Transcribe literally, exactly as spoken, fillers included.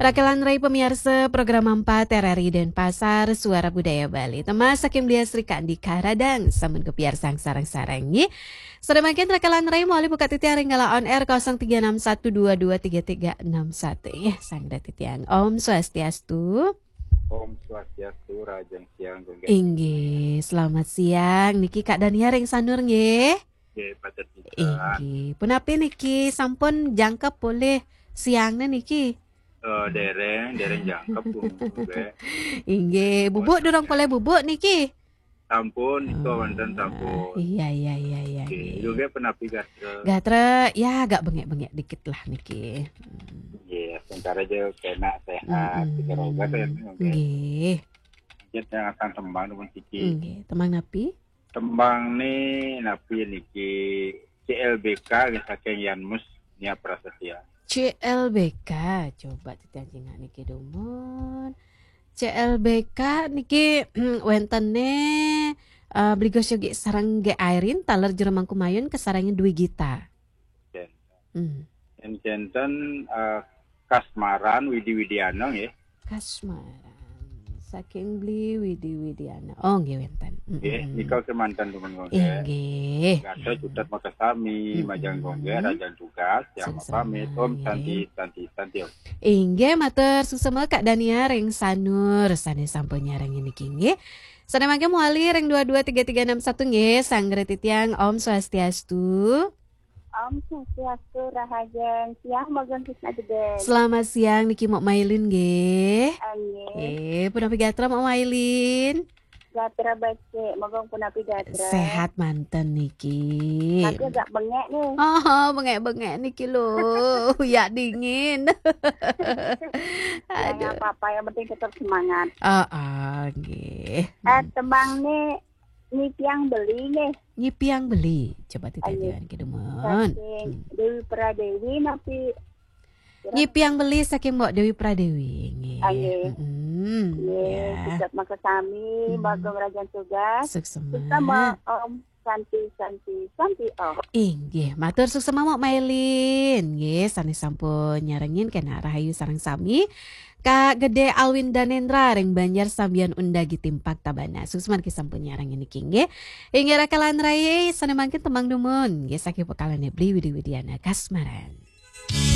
Raka lan rai pamiarsa program empat R R I Denpasar, Suara Budaya Bali. Tembang saking Beli Sri Kandi Karadang, sampun kapiarsang sareng-sareng nggih. Sane mangkin raka lan rai malih buka titiang ring galah on air kosong tiga enam satu dua dua tiga tiga enam satu. Nggih, sanggra titiang. Om Swastiastu. Om Swastiastu, rahajeng siang, Gung Gek. Inggih, selamat siang. Niki Kak Dania ring Sanur nggih. Nggih, patut pisan. Inggih. Punapi niki sampun jangkep polih siangne niki? Eh, dereng, dereng jangkep, Gung Gek. Inggih, bubuk durung polih bubuk niki? Sampun, nika wonten sampun. Iya, iya, iya, iya, nggih. Gung Gek punapi gatra? Gatra, ya agak bengek-bengek dikit lah niki. Hmm. Nggih, sementara aja kena sehat, mm-mm, tiga rogat ya, Gung Gek. Nggih. Nggih, tembang nuwun siki. Nggih, tembang napi? Tembang ni napi niki? C L B K nggih saking Yanmus Nia Prasetya. C L B K, coba titiang cingak niki dumun. C L B K niki wentene, eh, Bligos Yogi sareng Gek Airin, taler Jero Mangku Mayun, kasarengin Dwi Gita. Jen. Hmm. Jen, janten, eh, Kasmaran Widi Widiana nggih. Kasmaran. Saking Bli Widi Widiana. Oh, nggih wenten. Mm-mm. Nggih, nika kemanten dumun Gung Gek. Inggih. Gatra cutet makasami, mm-mm, majeng Gung Gek, rahajeng tugas, tiang pamit. Om Santi, Santi, Santi, Om. Inggih, matur suksma Kak Dania ring Sanur, sane sampun nyarengin niki nggih. Sane mangke mawali ring dua dua tiga tiga enam satu nggih, sanggra titiang Om Swastiastu. Om Swastiastu, rahajeng siang, Bagong Krisna Gede. Selamat siang, niki Mok Mailin nggih. Nggih. Eh, punapi gatra Mok Mailin? Gatra becik, Bagong punapi gatra? Sehat manten niki. Tapi agak bengek nih. Oh, bengek-bengek niki lho. Ya dingin. Aduh. Ya, nggak apa-apa, yang penting tetap semangat. Oh, oh, nggih. Eh, tembang nih Nyipiang Beli nggih. Nyipiang Beli. Coba titiang kidumun. Saking Dewi Pradewi napi? Nyipiang Beli saking Mbok Dewi Pradewi. Nggih. Nggih. Mm-mm. Nggih, ya. Cutet makasami, mm-mm, Bagong rahajeng tugas. Suksma. Suksma, Om. Santi, Santi, Santi, Om. Inggih, matur suksma Mok Mailin. Nggih, sane sampun nyarengin kena rahayu sareng sami. Kak Gede Alwin Danendra ring Banjar Sambian Undagi Timpak Tabanan. Suksma niki sampun nyarengin niki nggih. Inggih raka lan rai sane mangkin tembang dumun. Nggih saking pokalane Bli Widi Widiana Kasmaran.